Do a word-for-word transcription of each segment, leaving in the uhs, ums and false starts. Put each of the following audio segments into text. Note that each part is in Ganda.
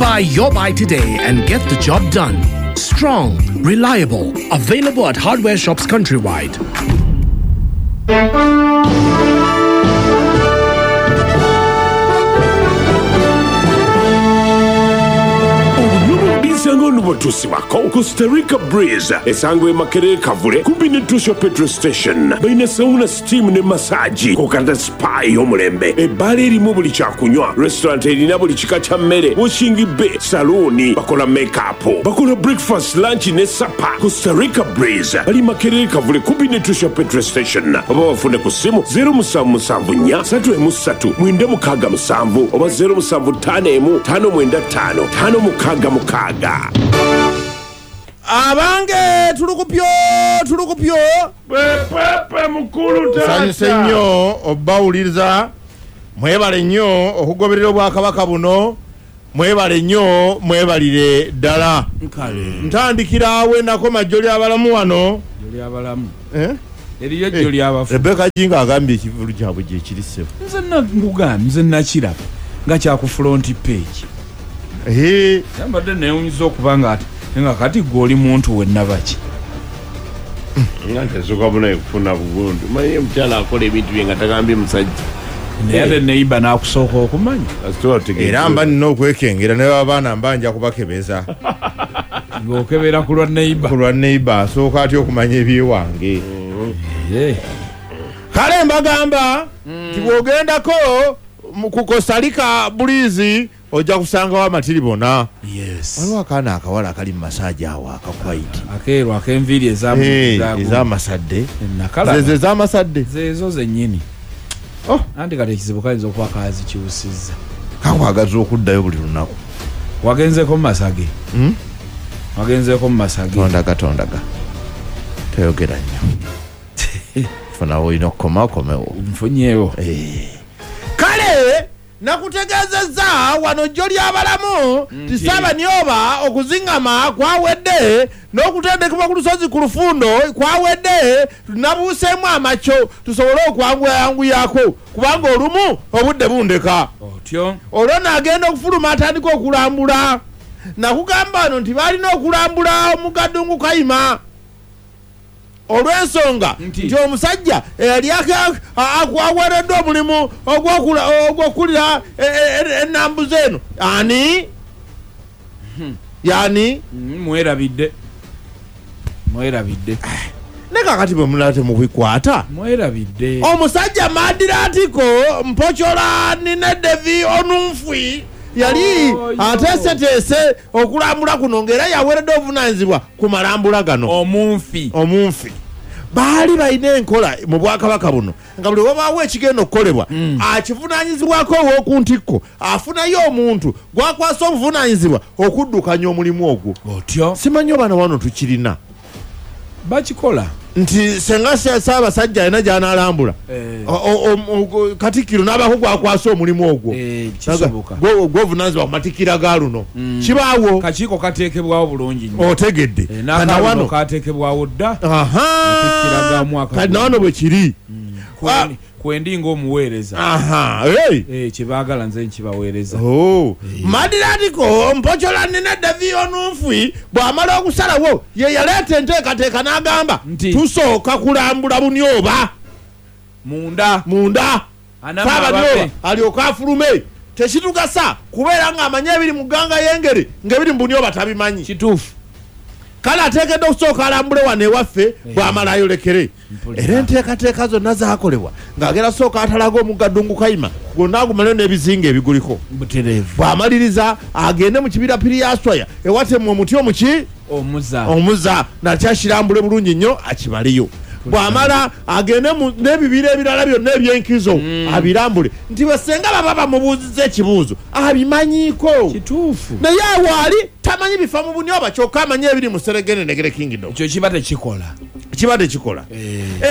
Buy your buy today and get the job done. Strong, reliable, available at hardware shops countrywide. Nubotusiwako Costa Rica Breeze esangwe Makerere Kavule kumpi ne Tusha petrol station balina sauna, steam ne massage kokanda spa y'omulembe ebbaala erimu buli kyakunywa, restaurant erina buli kika kya mmere, washing bay, salooni, bakola makeup, bakola breakfast, lunch ne supper. Costa Rica Breeze bali Makerere Kavule kumpi ne Tusha petrol station oba bafune ku ssimu zero musanvu musanvu nnya ssatu emu ssatu mwenda mukaaga musanvu oba zero musanvu ttaano emu ttaano mwenda ttaano ttaano mukaaga mukaaga. Abange tulukupyo tulukupyo pepepe mukulu tata sanyuse nnyo obawuliriza, mwebale nnyo okugoberera obwakabaka buno, mwebale nnyo mwebalire ddala. Ntandikira awe nakoma jjo ly'abalamu wano ly'abalamu eh eriyo jjo ly'abafu. Rebecca Jinga agambye ekivulu kyabwe gye kiri ssebo. Nze nkugambye nze nakiraba nga kya ku front page. Eh yambadde newunyiza okuba nga ati nga kati gwe oli muntu wenna baki nga tesoka buna kufuna bugundu manyi omukyala akola ebintu bye nga tagambye musajja naye ate neiba n'akusooka okumanya era mba nina okwekengera naye abaana mba nja kubakebeza ng'okebera ku lwa neiba ku lwa neiba asooka atya okumanya ebyewange. Kale mbagamba nti bw'ogendako ku Costa Rica Breeze ojja kusangawo amatiribona. Yes. Waliwo akaana akawala akali mu masaagi awo akakwaiti akeeru ak'enviiri ez'amasadde nakalaba ez'amasadde zeezo zennyini. Oh, anti kati ekizibu kayinza okuba kaazikyusizza kakwagaza okuddayo buli lunaku. Wagenzeko mu masage? Wagenzeko mu masage? Tondaga tondaga toyogera nnyo funawo olina okukoma okomewo nfunyeewo. Kale nakutegeezezza wano jjo ly'abalamu nti Ssaabanyooba okuzingama kwawedde n'okutendekebwa ku lusozi ku lufundo kwawedde, tunabuuseemu amakyo tusobole okwanguyanguyako kubanga olumu obudde bundeka. Otyo olwo n'agenda okufuluma atandika okulambula. Nakugamba wano nti balina okulambula omugaddungu Kayima olw'ensonga nti omusajja eyali aweereddwa omulimu ogw'okulira ennambuzi eno ani yani mwerabidde mwerabidde ne kakati bwe mulala temubikwata mwerabidde omusajja Madiratiko Mpochola Nine Devi Onunfwi yali ateeseteese okulambula kuno ng'era yaweereddwa obuvunaanyizibwa ku malambula gano. Omunfi omunfi baali balina enkola mu bwakabaka buno nga buli wabaawo ekigenda okukolebwa akivunaanyizibwako ow'oku ntikko afunayo omuntu gwakwasa obuvunaanyizibwa okuddukanya omulimu ogwo. Otyo simanyi oba na wano tukirina bakikola nti senga Ssaabasajja alina gy'anaalambula Katikkiro n'abaako gwakwasa omulimu ogwo gwovunaanyizibwa ku matikkira ga luno kibaawo kakiiko kateekebwawo bulungi nnyo otegedde n'akawano kateekebwawo dda kati nawano bwe kiri kwendi ng'omuweereza kyebaagala nze nkibaweereza. Madiratiko Mpochola Nine Devi Onunfwi bw'amala okusalawo ye yaleeta enteekateeka n'agamba tusooka kulambula Bunyoba munda munda Ssaabanyooba alyoke afulume. Tekitugasa kubeera ng'amanyi ebiri mu gganga y'engeri ng'ebiri mu Bunyoba tabimanyi. Kituufu. Kale ateekeddwa okusooka alambule wano ewaffe bw'amala ayolekere. Era enteekateeka zonna zaakolebwa ng'agenda sooka atalaga omugaddungu Kayima gwonna agumaleyo n'ebizinga ebiguliko bw'amaliriza agende mu kibira Piriyaswaya ewatemwa omuti omuki omuza omuza nakyakirambule bulungi nnyo akibaleyo. Bw'amala agende n'ebibira ebirala byonna ebyenkizo abirambule nti basenga baba bamubuuzizza ekibuuzo abimanyiiko. Kituufu. Naye awo ali tamanyi bifa mu Bunyoba kyokka amanyi ebiri mu Serengeti Negere Kingdom. Ekyo kiba tekikola kiba tekikola.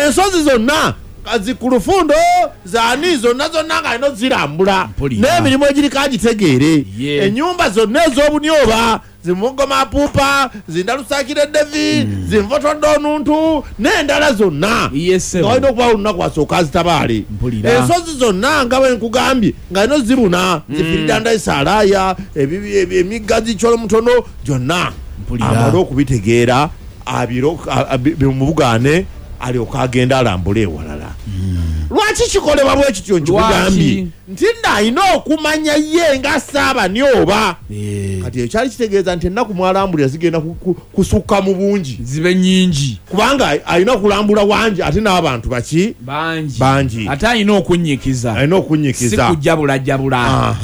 Ensozi zonna Zikulufundo zaani zonna zonna nga alina ozirambula n'emirimu egiriko agitegeere. Ennyumba zonna ez'obunyoba zimugoma pupa zindalusakire devi mm. zinvotodde onuntu n'endala zonna nga walina okubawo olunaku asooka azitabaale. Ensozi zonna nga bwe nkugambye nga alina ozibuna mm. zifiridanda esalaaya emigga zikyolo mutono gyonna amale okubitegeera bimubugaane alyoka agenda alambule ewalala. Lwaki kikolebwa bwe kityo nkikugambye nti nno alina okumanya ye nga Ssaabanyoba. Kati ekyali kitegeeza nti ennaku mwalambulira zigenda kusukka mu bungi, zibe nnyingi, kubanga alina okulambula wangi ate n'abantu baki bangi bangi, ate alina okunnyikiza, alina okunnyikiza, si kujjabulajjabula.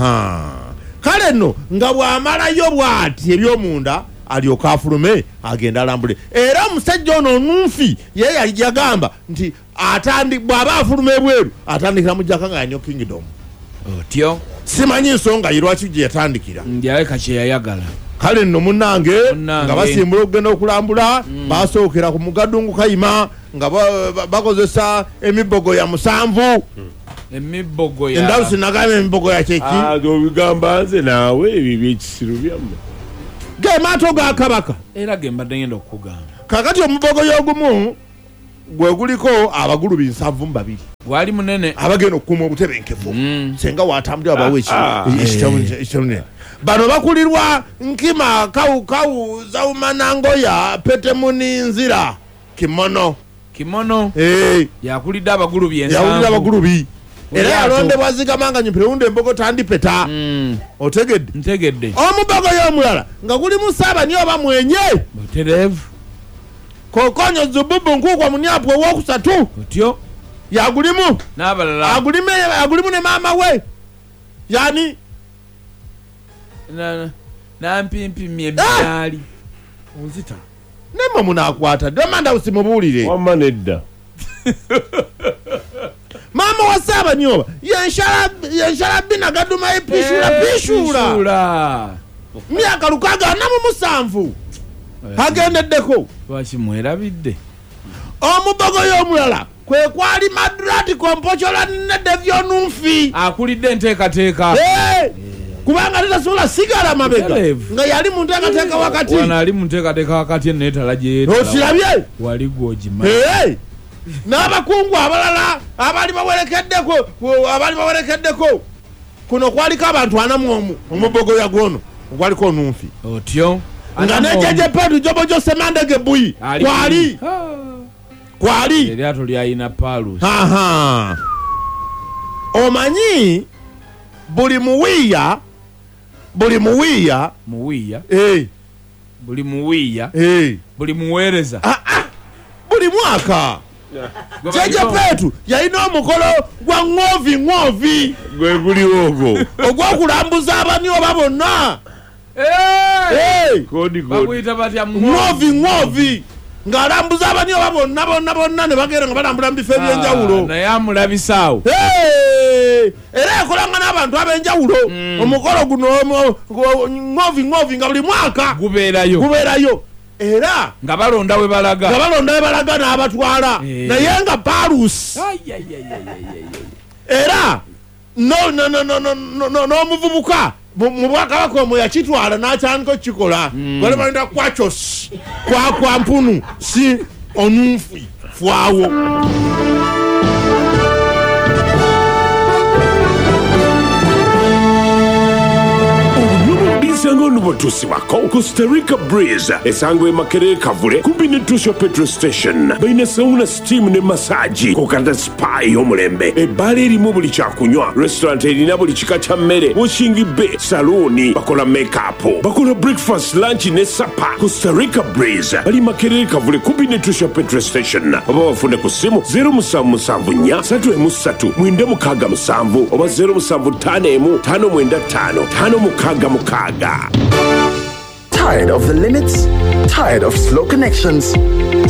Kale nno nga bw'amalayo bw'ati eby'omunda alyoka afulume agenda alambule. Era omusajja ono onunfi ye yali yagamba nti atandi bw'aba afuluma ebweru atandikira mu Jakanga Kingdom. Otyo simanyi nsonga ye lwaki gye yatandikira, ndyaleka kye yayagala. Kale nno munnange nga basimbula okugenda okulambula, basookera ku Mugadungu Kayima nga bakozesa emibogo ya musanvu. Emibogo ya endalusi nagamba emibogo ya kyeki obigamba nze naawe ebyo ebyekisiru byammwe ge maato ga kabaka era ge mbadde ngenda okukugamba. Kakati omubogo y'ogumu gwe guliko abagulubi nsanvu mu babiri, gwali munene abagenda okukuuma obutebenkevu senga watambulira bawe ekitabo. Bano bakulirwa Nkima Kawukawu Zawumanangoya Petemuninzira Kimono. Kimono eh yakulidde abagulubi ensanvu, yakulidde abagulubi era yalondebwa zigamanga nyimpireunde embogo tandipeta. Otegedde? Ntegedde. Omubogo y'omulala nga gulimu Ssaabanyoba mwenye butereevu Kokonyo Zububu Nkukwa Munyapwe owokusatu otyo yagulimu n'abalala agulimu agulimu ne maama we yani nampimpimye emyali onzita nemwe munaakwata demanda usimubuulire wamma nedda. Mama wa Ssaabanyoba yenshala yenshala bina gaduma epishula pishula myaka lukaaga ana mu musanvu agendeddeko. Lwaki mwerabidde? Omubogo y'omulala kwe kwali Madrati Kompochola ne Devyonunfi akulidde enteekateeka kubanga tetasobola sigala mabega nga yali mu nteekateeka wakati wano ali mu nteekateeka wakati eneetala gye okirabye wali gw'ogimanyi n'abakungu abalala abali bawerekeddeko abali bawerekeddeko kuno kwaliko abantu ana mu omu omubogo ya gwono ogwaliko onunfi otyo nga ne Jjajja Petu Jobojo Semandege Buyi kwali kwali eryato lyalina Palusi. Omanyi buli muwiya buli muwiya muwiya eh buli muwiya eh buli muweereza ah ah buli mwaka Jjajja Petu yalina omukolo gwa ng'ovi ng'ovi gwe guliwo ogwo ogw'okulambuza abanyoba bonna. Eh bakuyita batya? Ng'ovi ng'ovi ng'alambuza abanyoba bonna bonna bonna ne bagenda nga balambula mu bifo eby'enjawulo naye amulabisaawo era yakolanga n'abantu ab'enjawulo. Omukolo guno ng'ovi ng'ovi nga buli mwaka gubeerayo gubeerayo era nga balonda we balaga nga balonda we balaga n'abatwala naye nga Palusi era no no no no no n'omuvubuka mu bwakabaka omwo yakitwala n'atandika okukikola bali balinda kwachos kwa kwa mpunu si onunfi fwawo. Ngono Costa Rica Breeze esangwe Makerere Kavule kumpi ne Tusho petrol station balina sauna, steam ne massage kokanda spa y'omulembe ebbaala erimu buli kyakunywa restaurant erina buli kika kya mmere washing bay salooni bakola makeup bakola breakfast lunch ne supper. Costa Rica Breeze bali Makerere Kavule kumpi ne Tusho petrol station oba bafune ku ssimu zero musanvu musanvu nnya ssatu emu ssatu mwenda mukaaga musanvu oba zero musanvu ttaano emu ttaano mwenda ttaano ttaano mukaaga mukaaga. Tired of the limits? Tired of slow connections?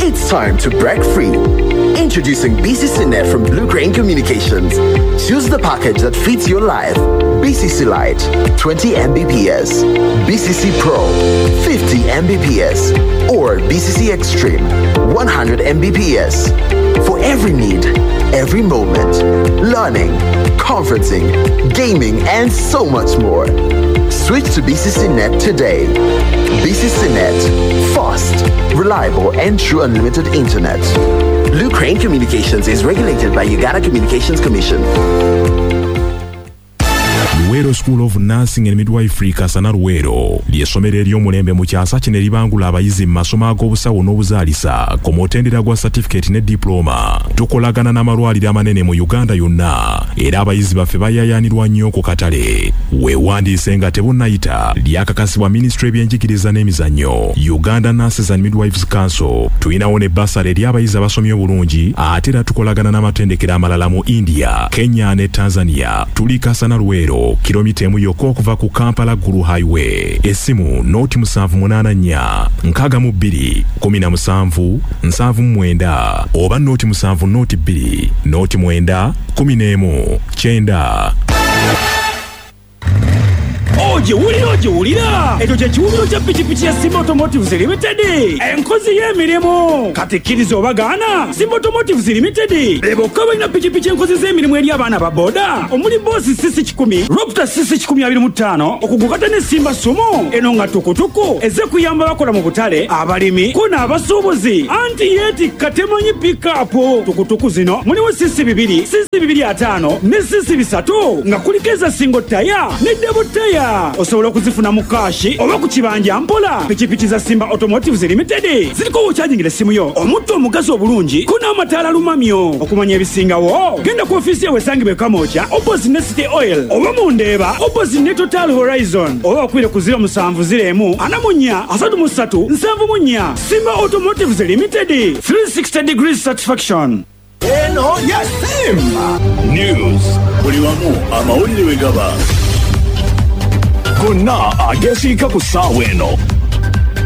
It's time to break free. Introducing B C C Net from Blue Crane Communications. Choose the package that fits your life. B C C Lite, twenty megabits per second. B C B C C Pro, fifty M B P S, or B C C Extreme, one hundred M B P S. For every need, every moment, learning, conferencing, gaming, and so much more. Switch to B C C Net today. B C C Net, fast, reliable, and true unlimited internet. Blue Crane Communications is regulated by Uganda Communications Commission. Luweero School of Nursing and Midwifery Kasana Luweero ly'essomero ery'omulembe mu kyasa kino eribangula abayizi mu masomo ag'obusawo n'obuzaalisa ku mutendera gwa certificate ne diploma. Tukolagana n'amalwaliro amanene mu Uganda yonna era abayizi baffe bayaayaanirwa nnyo ku katale. Weewandiise nga tebunnayita. Lyakakasibwa Minisitule y'ebyenjigiriza n'emizannyo, Uganda Nurses and Midwives Council. Tulinawo ne bursary eri abayizi abasomye obulungi ate era tukolagana n'amatendekero amalala mu India, Kenya ne Tanzania. Tuli Kasana Luweero, kilomita emu yokka okuva ku Kampala Gulu Highway. Essimu noti musanvu munaana nnya nkaaga mu bbiri kumi na musanvu nsanvu mu mwenda oba noti musanvu noti bbiri noti mwenda kumi n'emu kyenda. Ogiwulira ogiwulira ekyo kye kiwumiro kya pikipiki ya Simba Automotives Limited, enkozi y'emirimu. Kati kkiriza obagaana, Simba Automotives Limited be bokka balina pikipiki enkozi z'emirimu eri abaana ba boda omuli Boss C C kikumi, Raptor C C kikumi abiri mu ttaano, okugukata ne Simba Sumo eno nga tukutuku ezze kuyamba abakola mu butale, abalimi ko n'abasuubuzi. Anti yeetikka temanyi pikapu. Tukutuku zino mulimu C C bibiri, C C bibiri ataano ne C C bisatu nga kuliko eza single tire ne double tire. Osobola okuzifuna mu kashi oba ku kibanja mpola. Pikipiki za Simba Automotives Limited ziriko w'okyajingira essimu yo, omutto omugazi obulungi ko n'amataala lumamyo. Okumanya ebisingawo genda ku ofiisi yawe esangibwa e Kamwokya opposite ne City Oil oba mu Ndeeba opposite ne Total Horizon oba bakubire ku ziro musanvu ziro emu ana mu nnya asatu mu ssatu nsanvu mu nnya. Simba Automotives Limited, three sixty degrees satisfaction. Eno ya Simba News, buli wamu amawulire we gaba gonna agesiika ku ssaawa eno.